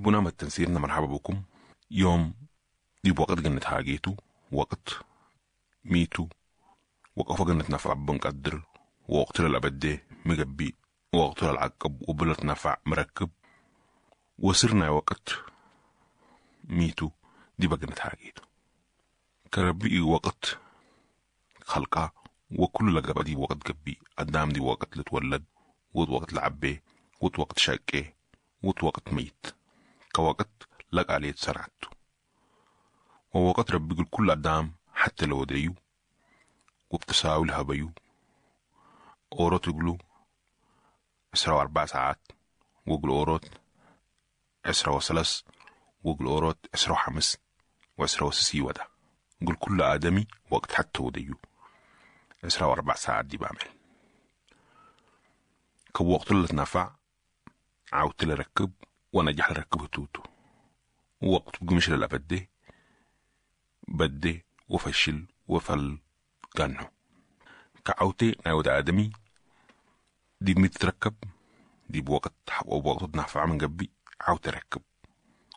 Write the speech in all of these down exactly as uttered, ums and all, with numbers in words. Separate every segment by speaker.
Speaker 1: بنام التنسيرنا مرحبا بكم. يوم دي وقت جنة هاجيتو وقت ميتو وقف جنة نفع بنقدر ووقت الأبد مجبي ووقت العقب وبلت نفع مركب وصرنا وقت ميتو دي بجنة هاجيتو كربي وقت خلقا وكل لقبة دي وقت جبي قدام دي وقت لتولد وت وقت لعبي وت وقت شقي وت وقت ميت كوقت لق عليه سرعته ووقت ربي يقول كل قدام حتى لو ديو وبتساوي لهبيو أوروت يقولوا عشرة وأربع ساعات وقل أوروت عشرة وثلاث وقل أوروت عشرة وخمس وعشرة وسسي ودا قل كل آدمي وقت حتى وديو عشرة وأربع ساعات دي بعمل كوقت اللي تنفع عاوت لركب ونجح لركب توتو ووقت بقمش للأبد بدي وفشل وفل جنو كعوتي ناود آدمي دي متركب دي بوقت وقت تنفع من قبي عاوت ركب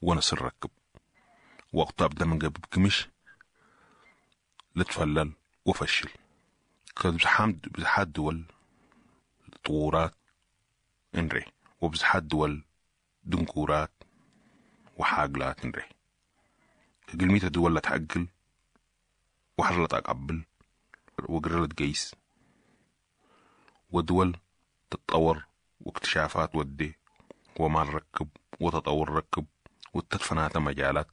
Speaker 1: ونصر ركب وقت أبدا من قبي بكمش لتفلل وفشل كبزحام بزحات دول طورات انري وبزحات دول دنكورات وحاجلات انري كجلميتا دول لا تحجل وحرلت أقبل وقرلت جيس ودول تتطور واكتشافات ودي وما نركب وتطور ركب وتدفنات مجالات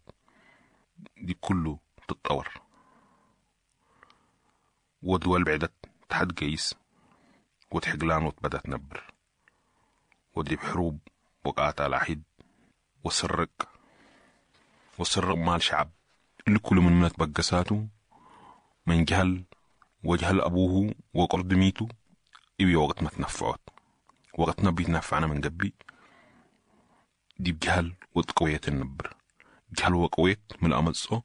Speaker 1: دي كله تتطور ودول بعدت تحت جيس وتحقلان وتبدأ تنبر ودي بحروب وقعت على حد وسرق وسرق مال شعب اللي كل من من تبقساته من جهل وجهل أبوه وقرد ميتو إبي وقت ما تنفعت وقت نبي تنفعنا من قبي دي بجهل وتقوية النبر جهل وقويت من الأمصو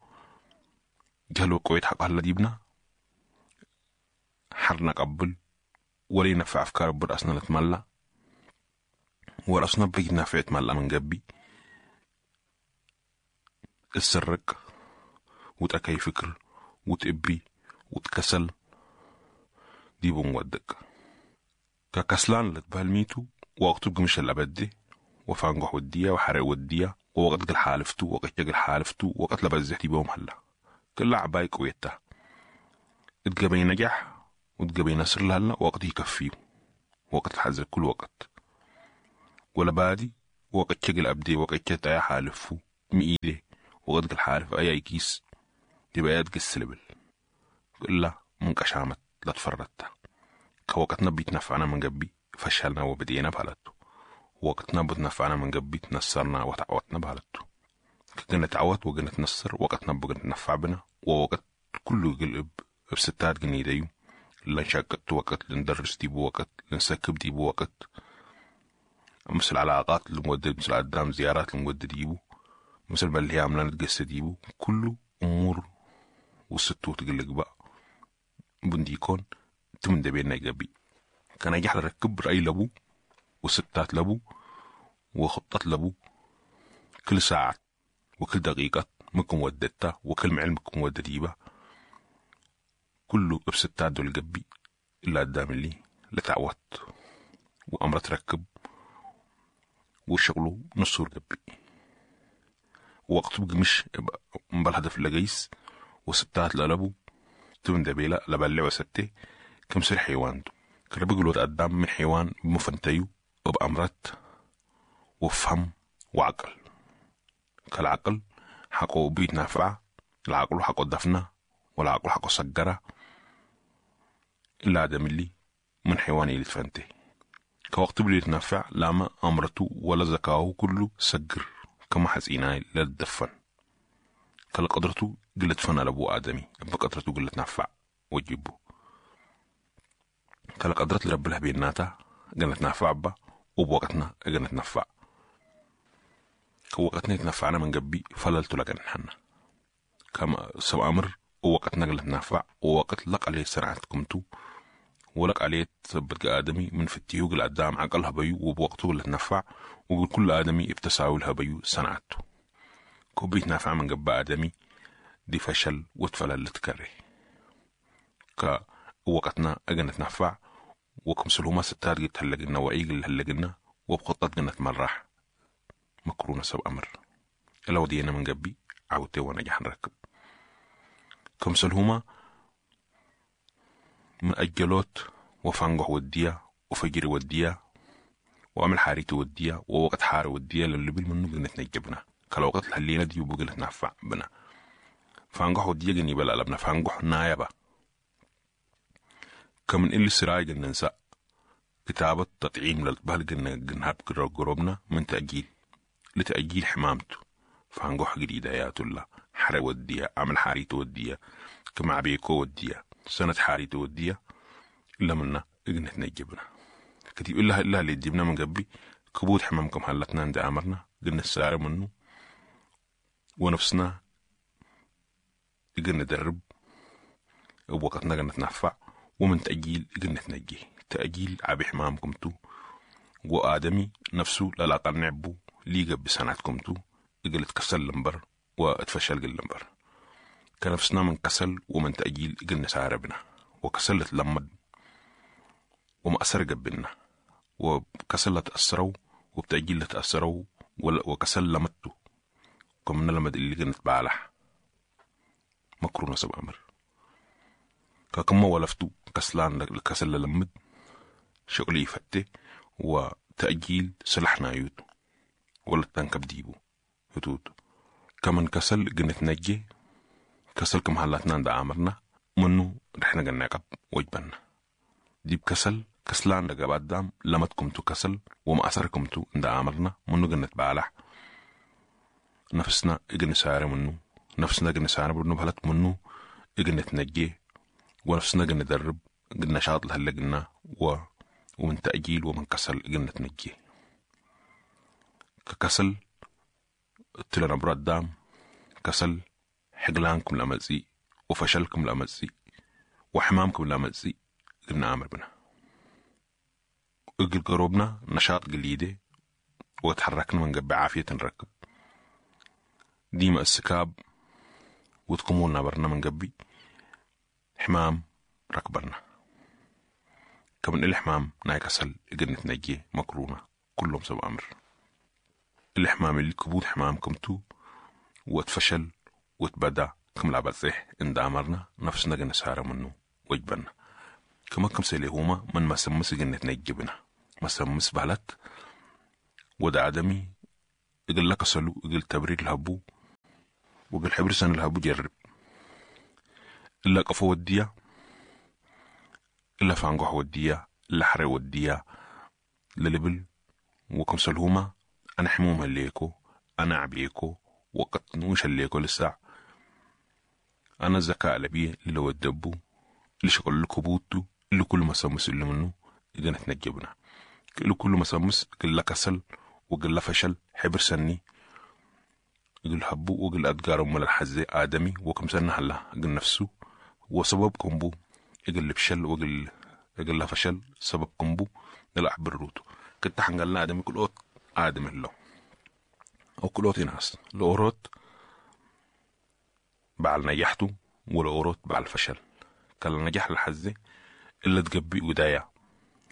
Speaker 1: جهل وقويت حق هلا ديبنا حرنا قبل ولا ينفع أفكار برأسنا نتملى ورأسنا بيت نافع تملى من قبي السرق وتأكي فكر وتأبي وتكسل دي بنودك ككسلان لتبهل وقت بقمش الأبدي وفانقح ودية وحرق ودية ووقت قل حالفتو وقت قل حالفتو وقت لبزحتي بهم هلا كل عباي قويتها اتقبي نجاح وتقبي نصر لهلا وقت يكفيه وقت الحزر كل وقت ولا بادي وقت شقل أبدي وقت شتا حالفو مئيدي وقت قل حالف أي كيس تبقى يدق كلا من قشامت لا تفردتها كوقتنا بيتنفعنا من قبي فشلنا وبدينا بهالتو وقتنا بتنفعنا من قبي تنصرنا وتعوتنا بهالتو كنا تعوت وقنا تنصر وقتنا بقنا تنفع بنا ووقت كله يقلب بستات جنيديو لنشقت وقت لندرس دي بوقت لنسكب دي بوقت مثل علاقات المودد مثل قدام زيارات المودد ديبو مثل بل عملنا نتقص ديبو كله أمور وستو تقلق بقى بنديكون تمن دبينا يقبي كان يجي ركب رأي لبو وستات لبو وخطط لبو كل ساعة وكل دقيقة مكم وددتا وكل معلمكم ودديبة كله بستات دول قبي إلا قدام اللي لتعوت وأمر تركب وشغله نصور قبي وقت بقى مش بالهدف لقيس وستات للبو تمن دبيلة لبلع وستة كم سر حيوان كان بيقولوا قدام من حيوان بمفنتيو وبأمرت وفهم وعقل كالعقل حقه بيت نافع العقل حقه دفنة والعقل حقه سجرة إلا آدم اللي من حيوان اللي تفنته كوقت بلي يتنفع لاما أمرته ولا ذكاؤه كله سجر كما حزيناي لا تدفن كالقدرته قلت فن لأبو آدمي بقدرته قلت نفع وجيبه كالقدرة لرب لها بيناتا قلت نفع با وبوقتنا قلت نفع كوقتنا يتنفعنا من قبي فللت لك نحن كما سو أمر ووقتنا قلت نفع ووقت لق عليه سرعتكم تو ولك عليه تثبت آدمي من فتيوق القدام عقلها بيو وبوقته قلت نفع وقل كل آدمي ابتساوي الهبيو صنعته كوبيت نافع من قبا آدمي دي فشل وتفلل تكره ك وقتنا أجنت نفع وكمسلهما ستات قد هلقنا وعيق هلقنا وبخطط جنة مرح مكرونة سب أمر لو دينا من قبي عوتي ونجح نركب كمسلهما من أجلوت وفنقح ودية وفجر ودية وعمل حاريت ودية ووقت حار ودية للي بالمنو قلنا نجبنا كالوقت الهلينا دي وبقلنا نفع بنا فانقح ودية جني بلا لبنا فانقح نايبة كمن اللي سراي قلنا ننسى كتابة تطعيم للبهل قلنا قلنا قروبنا من تأجيل لتأجيل حمامته فانقح جديدة يا تلا حر ودية عمل حاريت ودية كما عبيكو ودية سنة حاريت ودية إلا منا إجنة نجبنا كتير إلا إلا اللي جبنا من قبل كبوت حمامكم هلتنا عند أمرنا قلنا السعر منه ونفسنا قلنا ندرب وقتنا قلنا نتنفع ومن تأجيل قلنا تنجي تأجيل عبي حمامكم تو وآدمي نفسه لا لا قنعبو ليقى بسنعتكم تو قل تكسل لمبر واتفشل قل لمبر كنفسنا من كسل ومن تأجيل قلنا ساربنا وكسلت لمد وما أثر قبلنا وكسل تأثروا وبتأجيل تأثروا وكسل لمتو كمنا لمد اللي قلنا بالح مكرونة سب أمر كما ولفتو كسلان الكسل لمد شغلي فتي وتأجيل سلحنا يوتو ولا تنكب ديبو هتوتو كمن كسل قنت نجي كسل كم هلاتنا عند عامرنا منو رحنا قنعقب وجبنا ديب كسل كسلان لقبات دام لمتكم تو كسل وما أثركم تو عند عامرنا منو قنت بالح نفسنا اجن سارة منو نفسنا قن سارة منو بهلت منو اجن تنجي ونفسنا قن ندرب قن نشاط لهلا قلنا و ومن تأجيل ومن كسل قلنا تنجي ككسل تلنا براد دام كسل حقلانكم لمزي وفشلكم لمزي وحمامكم لمزي قلنا عامر بنا اقل قروبنا نشاط قليدة وتحركنا من قبل عافية نركب ديما السكاب وتقومونا برنا من قبي حمام ركبرنا كمن الحمام ناي كسل قلنا تنجي مكرونة كلهم سب أمر الحمام اللي كبوت حمامكم تو وتفشل وتبدا كم لعبت زيح إن أمرنا نفسنا قلنا سارة منه وجبنا كما كم سيلي هما من ما سمس قلنا تنجبنا ما سمس بهلت ودا عدمي إقل لك سلو إقل تبرير الهبو وقل حبر سن الهبو جرب إلا قفو ودية إلا فانقح ودية إلا حري ودية للبل وكم سلهما أنا حموم هليكو أنا عبيكو وقت نوش هليكو لسه أنا الذكاء لبيه اللي ودبو اللي شغل كبوتو اللي كل ما سمس اللي منه إذا نتنجبنا اللي كل ما سمس قل كسل وقل فشل حبر سني قل حبو وقل أدقار أم الحزة آدمي وكم سنة هلا قل نفسه وسببكم بو قل بشل وقل قل فشل سببكم بو لا أحبر كنت حنقلنا آدمي كل أوت آدم اللو أو كل أوت ناس الأوروت بعل نجحته والأوروت بعل فشل كان نجاح الحزة إلا تقبي ودايا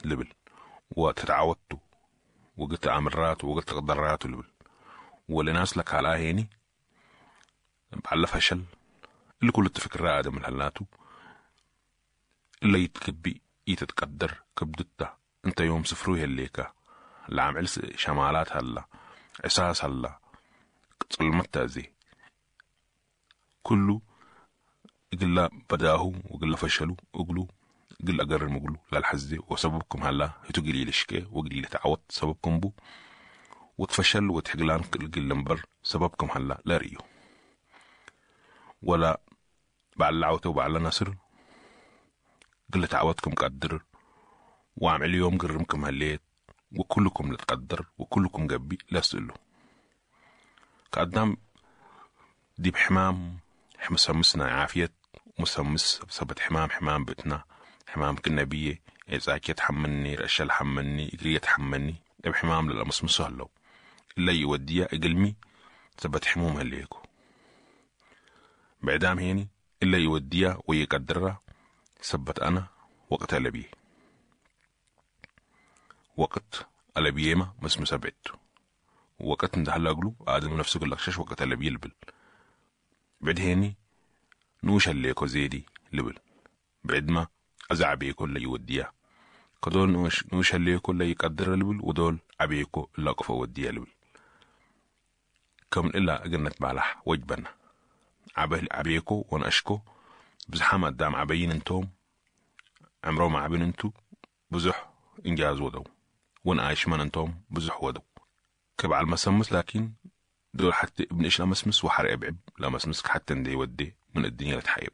Speaker 1: لبل وتتعودتو وقلت أمرات وقلت قدرات لبل والناس لك على هيني بعل فشل اللي كل التفكر آدم الهلاتو اللي يتكبي يتتقدر كبدتا انت يوم سفرو هليكا العام علس شمالات هلا عساس هلا ظلمت زي كله قل بداهو وقل فشلوا وقلوا قل أقرر مقلو لا الحزة وسببكم هلا هتقلي لشكي وقلي لتعوض سببكم بو وتفشل وتحقلان قل لمبر سببكم هلا لا ريو ولا بعد العوتة وبعد نصر قل تعوضكم قدر وعمل يوم قرمكم هليت وكلكم لتقدر وكلكم قبي لا سئلو كقدام دي بحمام مسمسنا عافية مسمس بسبت حمام حمام بتنا حمام كنا بيه إذا تحملني رشل حملني إجرية تحملني بحمام للمسمسه هلو إلا يوديا إقلمي سبت حموم هليكو. بعدام هيني إلا يوديا ويقدرها سبت أنا وقت ألبيه. وقت ألبيما مسمس بعدتو. وقت ندهلا أقلو آدم نفسه قلقشش وقت ألبيه لبل. بعد هيني نوش هليكو زيدي لبل. بعد ما أزعبيكو اللي يوديا. كدول نوش نوش هليكو اللي يقدر لبل ودول عبيكو اللي قفا وديا لبل. كم إلا أجنت بالح وجبنا. عبه عبيكو ونأشكو بزحام قدام عبين انتوم عمرو عبين انتو بزح إنجاز ودو ونعيش من انتوم بزح ودو كبع المسمس لكن دول حتى ابن إيش لمسمس وحرق بعب لمسمس حتى ندي ودي من الدنيا لتحيب.